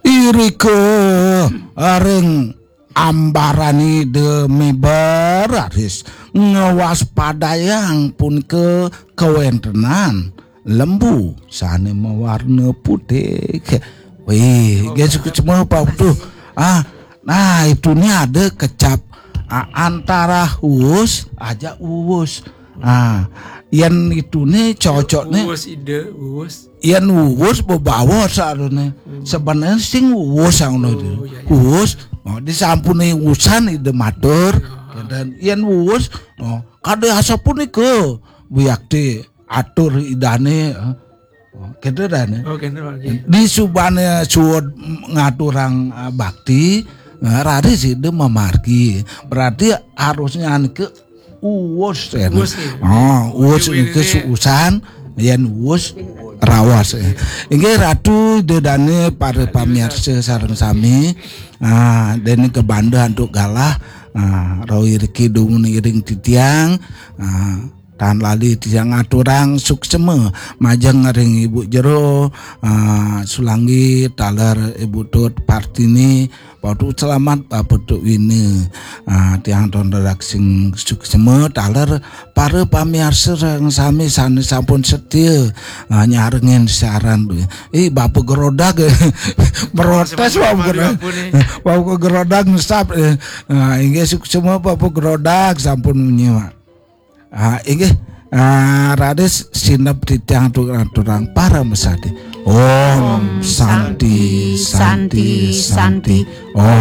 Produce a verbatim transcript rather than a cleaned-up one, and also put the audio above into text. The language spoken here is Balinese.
Irika ring ambaran Ida miber raris ngwaspadayang punika kawentenan lembu sane mawarna putih. Wih, nggih suksma Pak Putu. Ah, nah itu ni ada kecap ah, antara uus aja uus. Ah, yen itu ni cocok ni. Uus ide, uus. Yen uus bebawa sarane. Sebenarnya sing uus ngono itu. Oh, iya, iya. Uus, oh, disampuni usan Ida matur. Dan yen uus, oh, kada asapunika buyakti atur Idane, eh. Oh, gitu dan. Oh, gitu, Pak. Di subane suud ngaturang eh, bakti, eh, raris Ida mamargi. Berarti harusnya ke uus ya. Uus, ya. Oh, uus Uus niki ini. Suusan, yen uus rawas. Inggih Ratu Ida Dane, para pamirsa sareng sami. Ah, dene kebanda antuk galah. Ah, rawi riki dumun iring titiang. Ah, tan lali titiang ngaturang suksema majeng ring Ibu Jero, ah, Sulanggi, taler Ibu Tut Partini, Pak Putu selamat, Pak Putu Wina. Ah, tiang ton redaksi suksema taler para pamiarsa sareng sami sane sampun setia ah, nyarengin siaran. Ih, Bapak Gerodak. Merotes Bapak Gerodak. Bapak Gerodak ngesap. Eh. Ah, inggih suksema Bapak Gerodak sampun nyimak. Ah, inggih. Ah, raris sineb titiang aturang para mesadi. Om Santi, Santi, Santi. Om